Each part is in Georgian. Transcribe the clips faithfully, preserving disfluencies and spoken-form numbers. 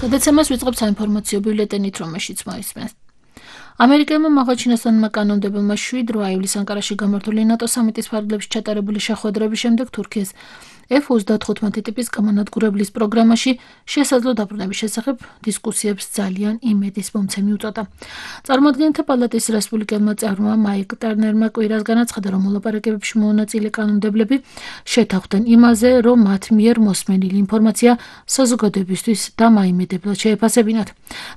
გადაცემას ვიწყებთ საინფორმაციო ბიულეტენით, რომელშიც მოისმენთ. ამერიკელმა მაღალჩინოსანმა კანონმდებელმა შვიდ რვა ივლისს ანკარაში გამართული ნატო სამიტის ფარგლებში ჩატარებული შეხვედრების შემდეგ თურქიის ეფ ოცდათხუთმეტი ტიპის გამანადგურებლის პროგრამაში შესაძლო დაბრუნების შესახებ დისკუსიებს ძალიან იმედის მომცემი უწოდა. წარმოადგენთა პალატის რესპუბლიკელმა წევრმა მაიკ ტერნერმა კვირას განაცხადა, რომ მოლაპარაკებებში მონაწილე კანონმდებლები შეთანხმდნენ იმაზე, რომ მათ მიერ მოსმენილი ინფორმაცია საზოგადოებისთვის დამაიმედებლად შეეფასებინათ.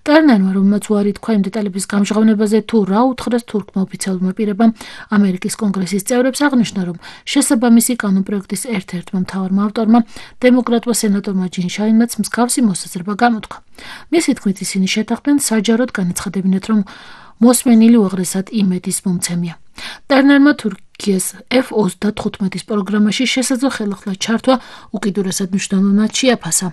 ტერნერმა, რომელმაც უარი თქვა იმ დეტალების გამჟღავნებაზე, თუ რა უთხრეს თურქმა ოფიციალურმა პირებამ ამერიკის კონგრესის წევრებს, აღნიშნა, რომ შესაბამისი კანონპროექტის ერთ-ერთმა მთავარმა ავტორმა, დემოკრატმა სენატორმა ჯინ შაინმაც მსგავსი მოსაზრება გამოთქვა. მისი თქმით, ისინი შეთანხმდნენ საჯაროდ განაცხადებინათ, რომ მოსმენილი უაღრესად იმედის მომცემია. ტერნერმა თურქიის ეფ ოცდათხუთმეტის პროგრამაში შესაძლო ხელახლა ჩართვა უკიდურესად მნიშვნელოვნად შეაფასა.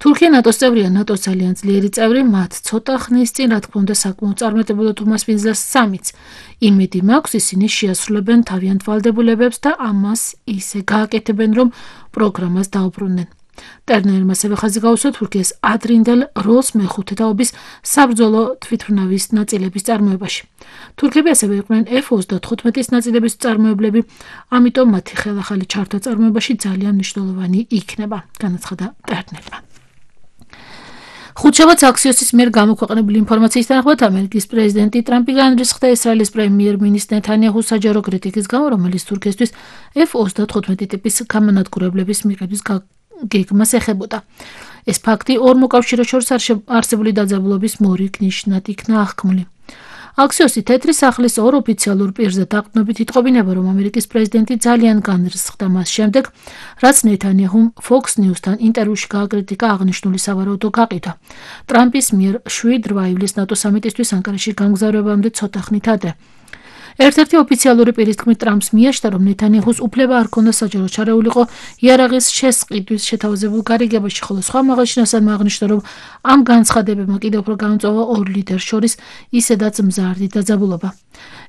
თურქია ნატოს წევრია, ნატოს ძალიან ძლიერი წევრი, მათ ცოტა ხნის წინ, რა თქმა უნდა, საკმაოდ წარმატებულად უმასპინძლა სამიც. იმედი მაქვს, ისინი შეასრულებენ თავიანთ ვალდებულებებს და ამას ისე გააკეთებენ, რომ პროგრამას დაუბრუნდნენ. ტერნერმა ასევე ხაზი გაუსვა თურქიის ადრინდელ როლს მეხუთე თაობის საბრძოლო თვითმფრინავის ნაწილების წარმოებაში. თურქები ასევე იყვნენ ეფ ოცდათხუთმეტის ნაწილების მწარმოებლები, ამიტომ მათი ხელახალი ჩართვა წარმოებაში ძალიან მნიშვნელოვანი იქნება, განაცხადა ტერნერმა. ხუთშაბათს აქსიოსის მიერ გამოქვეყნებული ინფორმაციის თანახმად ამერიკის პრეზიდენტი ტრამპი განრისხდა ისრაელის პრემიერ-მინისტრ ნეთანიაჰუს საჯარო κρიტიკის გამო, რომელიც თურქიისთვის ეფ ოცდათხუთმეტი ტიპის გამანადგურებლების მიღების გეგმას ეხებოდა. ეს ფაქტი ორ მოკავშირეს შორის არსებული დაძაბულობის მორიგ ნიშნად იქნა აღქმული. აქსიოსი თეთრი სახლის ორ ოფიციალურ პირზე დაყრდნობით იტყობინება, რომ ამერიკის პრეზიდენტი ძალიან განრისხდა მას შემდეგ, რაც ნეთანიაჰუმ Fox News-თან ინტერვიუში გააკრიტიკა აღნიშნული სავარაუდო გაყიდვა. ტრამპის მიერ შვიდ რვა ივლისს ნატო სამიტისთვის ანკარაში გამგზავრებამდე ცოტა ხნით ადრე. ერთ-ერთი ოფიციალური პირის თქმით, ტრამპს მიაჩნდა, რომ ნეთანიაჰუს უფლება არ ჰქონდა საჯარო ჩარეულიყო იარაღის შესყიდვის შეთავაზებულ გარიგებაში, ხოლო სხვა მაღალჩინოსანმა აღნიშნა, რომ ამ განცხადებებმა კიდევ უფრო გამწვავა ორ ლიდერს შორის ისედაც მზარდი დაძაბულობა.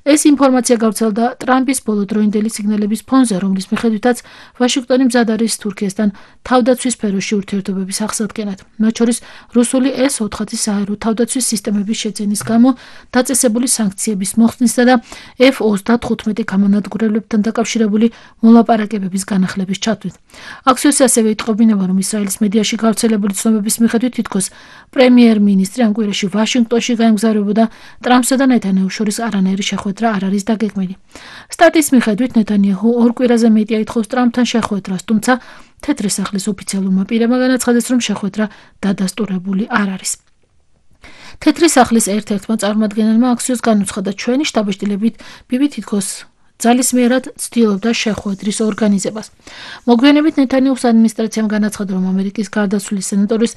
ეს ინფორმაცია გავრცელდა ტრამპის ბოლოდროინდელი სიგნალების ფონზე, რომლის მიხედვითაც ვაშინგტონი მზად არის თურქიასთან თავდაცვის სფეროში ურთიერთობების აღსადგენად, მათ შორის რუსული ეს ოთხი საერო თავდაცვის სისტემების შეძენის გამო დაწესებული სანქციების მოხსნისა და ეფ ოცდათხუთმეტი გამანადგურებლებთან დაკავშირებული მოლაპარაკებების განახლების ჩათვლით. აქსიოსი ასევე იტყობინება, რომ ისრაელის მედიაში გავრცელებული ცნობების მიხედვით თითქოს პრემიერ-მინისტრი ამ კვირაში ვაშინგტონში გაემგზავრებოდა, ტრამპსა და ნეთანიაჰუს შორის არანაირი შეხვედრა არ არის დაგეგმილი. სტატის მიხედვით ნეთანიაჰუ ორ კვირაზე მეტი აითხოვს ტრამპთან შეხვედრას, თუმცა თეთრი სახლის ოფიციალურმა პირებმა განაცხადეს, რომ შეხვედრა დადასტურებული არ არის. თეთრი სახლის ერთ-ერთმა წარმომადგენელმა აქსიოს განუცხადა, ჩვენი შტაბ-ბიჭდილებით ბიბი თითქოს ძალისმიერად ცდილობდა შეხვედრის ორგანიზებას. მოგვიანებით ნეთანიაჰუს ადმინისტრაციამ განაცხადა, რომ ამერიკის გარდაცვლილი სენატორის